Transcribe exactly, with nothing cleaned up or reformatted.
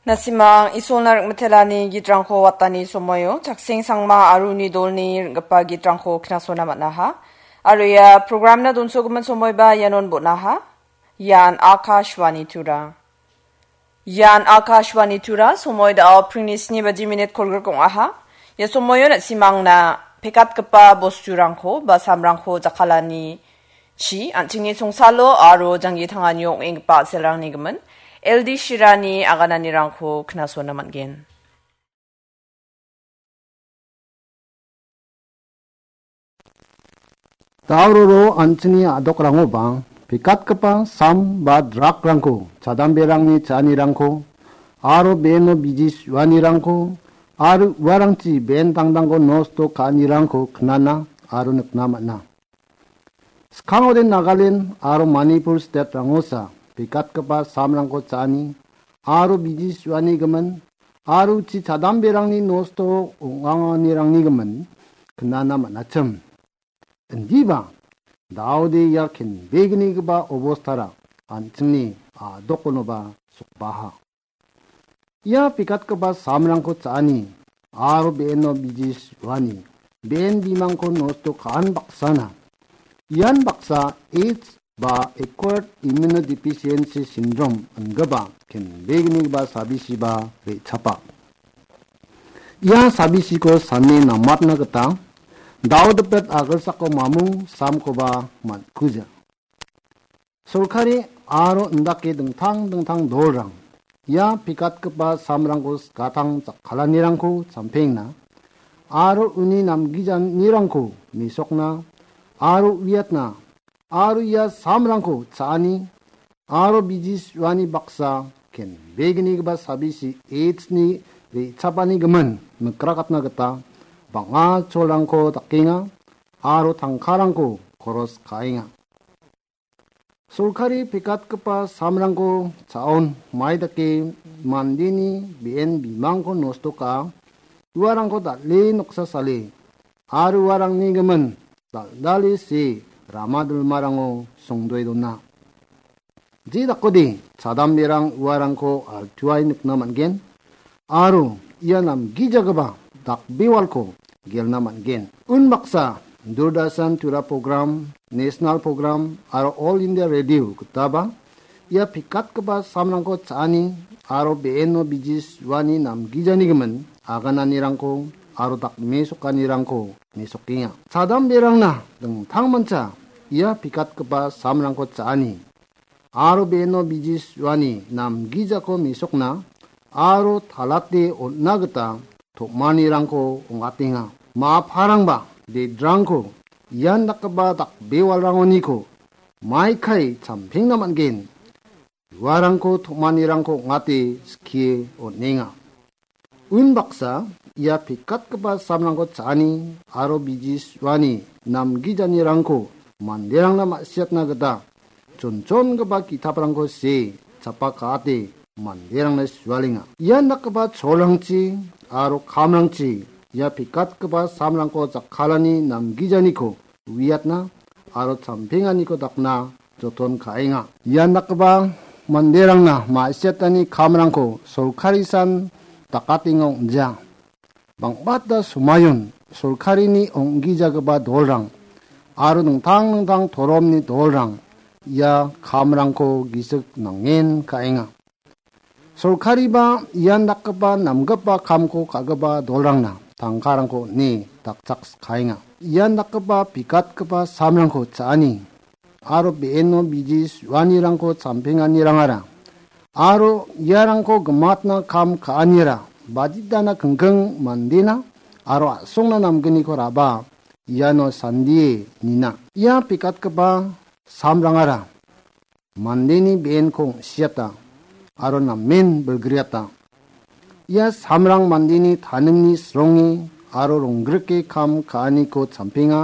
Nasimang Isolna ring·mitelani gitrangko watani somoio Chakseng Sangma aro uni dolni ring·gipa gitrangko knasona man·aha. Aro ia programna donsogimin somoiba ianon bon·aha. Ian Akashvani Tura. Ian Akashvani Tura, somoi da·o pringni sni baji minit kolgrik ong·aha. Ia somoio na·simangna pekatgipa bosturangko ba samrangko jakkalani chi an·chingni songsalo aro janggi tanganio ong·enggipa a·selrangni gimin L D Shirani agananirangko knasona man·gen. Dauroro an·chingni a·dokrangoba pekatgipa sam ba dragrangko, chadamberangni cha·anirangko, aro beno biji su·anirangko, aro uarangchi ben tangtangko nosto ka·anirangko knana aro nikna man·a. Skangode Nagaland aro Manipur state-rangosa pekatgipa samrangko cha·ani aro biji su·ani gimin aro uchi chadamberangni nosto ong·anganirangni gimin knana man·achim. Indiba, daode ia kenbegnigipa obostara an·chingni a·dokonoba sokbaha. Ia pekatgipa samrangko cha·ani aro beno biji su·ani ben bimangko nosto ka·an baksana. Ian baksa AIDS ba acquired immunodeficiency syndrome ingipa kenbegnigipa sabisiba re·chapa. Ia sabisiko sane namatna gita daodipet agilsako mamung samkoba man·kuja. Sorkari aro indake dingtang dingtang dolrang ia pekatgipa samrangko skatang jakkalanirangko champengna aro uni namgijanirangko mesokna aro uiatna aro ia samrangko cha·ani aro biji su·ani baksa kenbegnigipa sabisi AIDS-ni re·chapani gimin mikrakatna gita bang·a cholrangko dakenga aro tangkarangko koros ka·enga. Sorkari pekatgipa samrangko cha·on mai dake mandeni be·en bimangko nosto ka·a, uarangko dal·e noksa sale aro uarangni gimin dal·dale see rama dilmarango songdoe dona. Je dakode chadamberang uarangko altuae nikna man·gen aro ia namgijagipa dakbewalko gelna man·gen. Unbaksa Doordarshan Tura program, National program aro All India Radio gitaba ia pekatgipa samrangko cha·ani aro be·eno biji su·ani namgijani gimin agananirangko aro dakmesokanirangko mesokenga. Chadamberangna dingtangmancha ia pekatgipa samrangko cha·ani aro be·eno biji su·ani namgijako mesokna aro talate on·na gita tom·anirangko ong·atenga. Ma·aparangba dedrangko ian dakgipa dakbewalrangoniko maikai champengna man·gen. Uarangko tom·anirangko ong·ate skie on·enga. Unbaksa ia pekatgipa samrangko cha·ani aro biji su·ani namgijanirangko manderangna ma·siatna gita chonchongipa ki·taprangko see chapa ka·ate manderangna sualenga. Ian dakgipa cholrangchi aro kamrangchi ia pekatgipa samrangko jakkalani namgijaniko uiatna aro champenganiko dakna joton ka·enga. Ian dakgipa manderangna ma·siatani kamrangko sorkarisan dakatenga ong·ja. Bang·bata somayon sorkarini ong·gijagipa dolrang aro dingtang dingtang toromni dolrang ia kamrangko gisik nangen ka·enga. Sorkariba ian dakgipa namgipa kamko ka·gipa dolrangna tangkarangko on·e dakchakskaenga. Ian dakgipa pikatgipa samrangko cha·ani aro be·eno biji su·anirangko champenganirangara aro iarangko gimatna kam ka·anira baditana kingking mandena aro a·songna namgniko raba iano sandie nina. Ia pikatgipa samrangara mandeni be·enko ong·siata aro namen bilgriata. Ia samrang mandeni taningni sronge aro ronggrike kam ka·aniko champenga.